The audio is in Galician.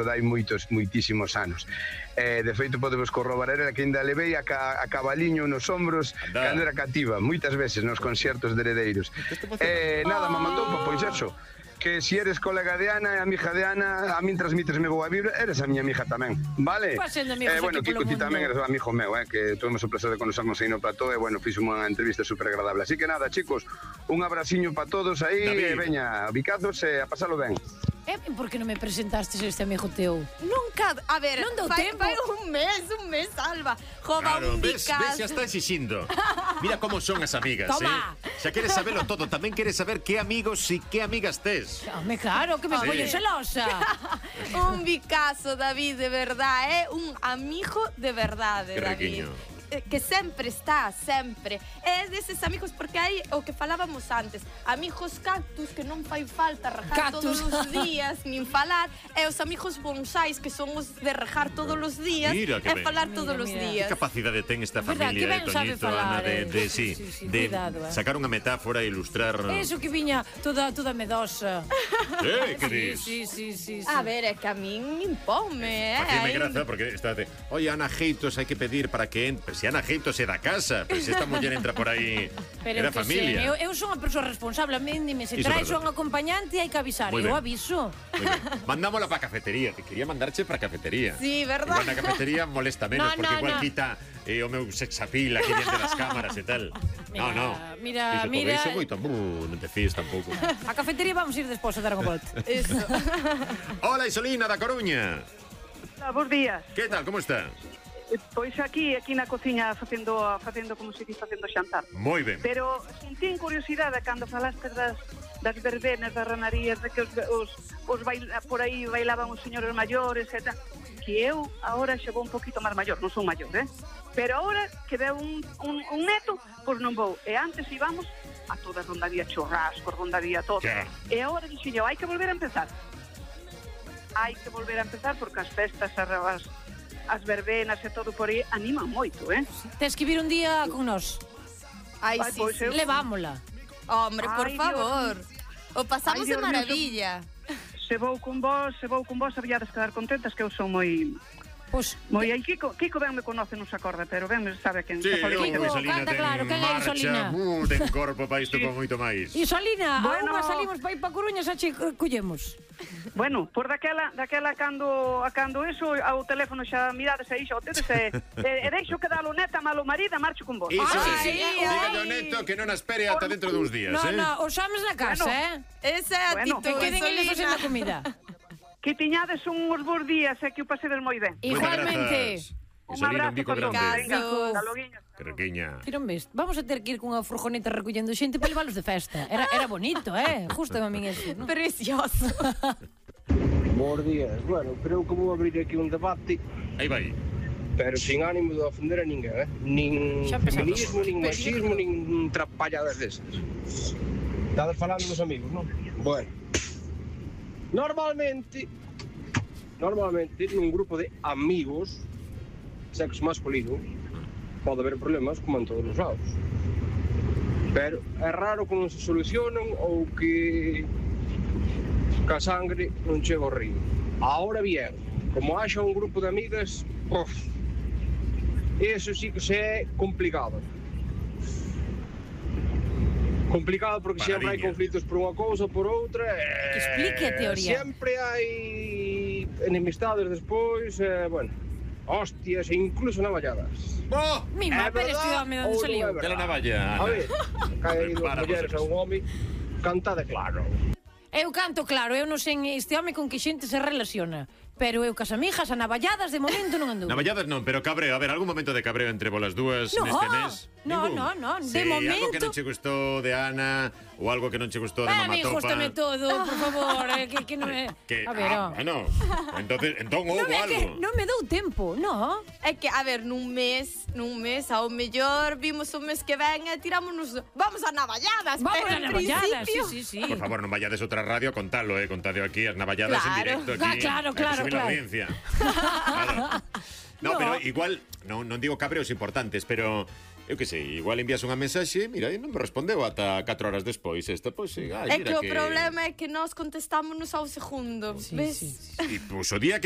dai moitísimos anos. De feito, podemos corroborar que ainda levei a cabaliño nos ombros cando era cativa, moitas veces nos conciertos de Heredeiros. Nada, me mandou, pois eso, que si eres colega de Ana, amiga de Ana, a min transmítesme boa vibra, eres a miña amiga tamén, vale? Bueno, Kiko, ti tamén eres amigo meu, que tuvemos o placer de conocernos aí no plató, e bueno, fixo unha entrevista super agradable. Así que nada, chicos, un abraciño para todos aí, e veña, bicazos, e a pasalo ben. Por que non me presentastes este amigo teu? Nunca, a ver, non deu tempo. Vai un mes, Alba. Jova, un bicazo. Ves, xa está exixindo. Mira como son as amigas, Toma. Xa queres sabelo todo, tamén queres saber que amigos e que amigas tes. Home, claro, que me poñes celosa. Un bicazo, David, de verdad, un amigo de verdade, David. Que sempre está, sempre. É deses amigos, porque hai o que falábamos antes, amigos cactus que non fai falta rejar todos os días, nin falar, e os amigos bonsais que son os de rejar todos os días e falar todos os días. Que capacidade ten esta familia, Toñito, Ana, de sacar unha metáfora e ilustrar... Eso que viña toda medosa. Que dis? Sí. A ver, é que a min impome, Facime graza, porque estate... Oye, Ana Geitos hai que pedir para que... Si Ana Geitos é da casa, pero se esta muller entra por aí... Era familia. Eu son a persoa responsable, a min dime, se traes un acompañante hai que avisar, eu aviso. Mandámola para a cafetería, te quería mandarche para a cafetería. Sí, verdad. Igual na cafetería molesta menos, porque igual quita o meu sexapil aquí diante das cámaras e tal. Mira. Iso moito, non te fíes tampouco. A cafetería vamos ir despois a dar unha volta. Eso. Hola, Isolina da Coruña. Bos días. Que tal, como está? Pois aquí na cociña facendo como se dice, facendo xantar. Moi ben. Pero sentín curiosidade cando falaste das verbenas, das ranarías, de que os por aí bailaban os señores maiores e tal. Que eu agora xa vou un poquito máis maior, non son maior, pero agora que veo un neto, pois non vou. E antes íbamos a toda rondaría churrasco, rondaría todo. E agora dixo eu, hai que volver a empezar. Hai que volver a empezar porque as festas, as verbenas e todo por aí animan moito, Tes que vir un día con nós. Ai, sí. Levámola. Hombre, por favor. O pasamos de maravilla. Se vou con vos, habíades quedar contentas, que eu son moi... Moi aí, Kiko ben me conoce, non se acorda, pero ben me sabe quen... Sí, Isolina ten marcha, ten corpo para isto con moito máis. Isolina, a unha salimos para ir para Coruña, xa che collemos. Bueno, por daquela cando eso, ao teléfono xa mirades aí, xa o tedes e deixo que dalo neta, malo marida, marcho con vos. Iso dígalle ao neto que non espere ata dentro duns días, No, os homes na casa, Esa é a actitud, que queden eles facendo a comida. Que tiñades uns bons días e que o pasedes moi ben. Igualmente. Un abrazo grande. Hasta loguiño. Carrequiña. Tiron ves, vamos a ter que ir cunha furgoneta recollendo xente para levalos de festa. Era bonito, justo a min eso, ¿no? Precioso. Bos días. Bueno, creo que vou abrir aquí un debate. Aí vai. Pero sin ánimo de ofender a ninguén, Nin feminismo, nin machismo, nin trapalladas desas. Estades falando dos amigos, non? Bueno. Normalmente, nun grupo de amigos, sexo masculino, pode haber problemas como en todos os lados. Pero é raro que non se solucionen ou que a sangre non chega ao río. Ahora bien, como haxa un grupo de amigas, eso sí que se é complicado. Complicado porque sempre hai conflitos por unha cousa, por outra. Que explique a teoría. Sempre hai enemistades despois, bueno, hostias e incluso navalladas. Mi mapa eres que me onde saliu. De la navalla, Ana. A ver, cae dúas mulleres a un home, cantade claro. Eu canto claro, eu non sei este home con que xente se relaciona. Pero eu cas amigas a navalladas de momento non ando. Navalladas non, pero cabreo, a ver, algún momento de cabreo entre volas dúas neste mes? No, de momento. Algo que non che gustou de Ana ou algo que non che gustou de Mamatopa. A mí gústame todo, por favor, que non é. A ver, bueno, entón houve algo. Non me dou tempo, no? É que, a ver, nun mes, ao mellor vimos o mes que ven e tirámonos, vamos a navalladas. Vamos a navalladas, sí. Por favor, non vayades outra radio a contalo, contade aquí as navalladas en directo aquí. Claro. La audiencia. No, pero igual non digo cabreos importantes, pero eu que sei, igual envías unha mensaxe, mira, e non me respondeu ata 4 horas despois. Esta, pois, é que o problema é que nós contestámonos ao segundo, ves? E pois o día que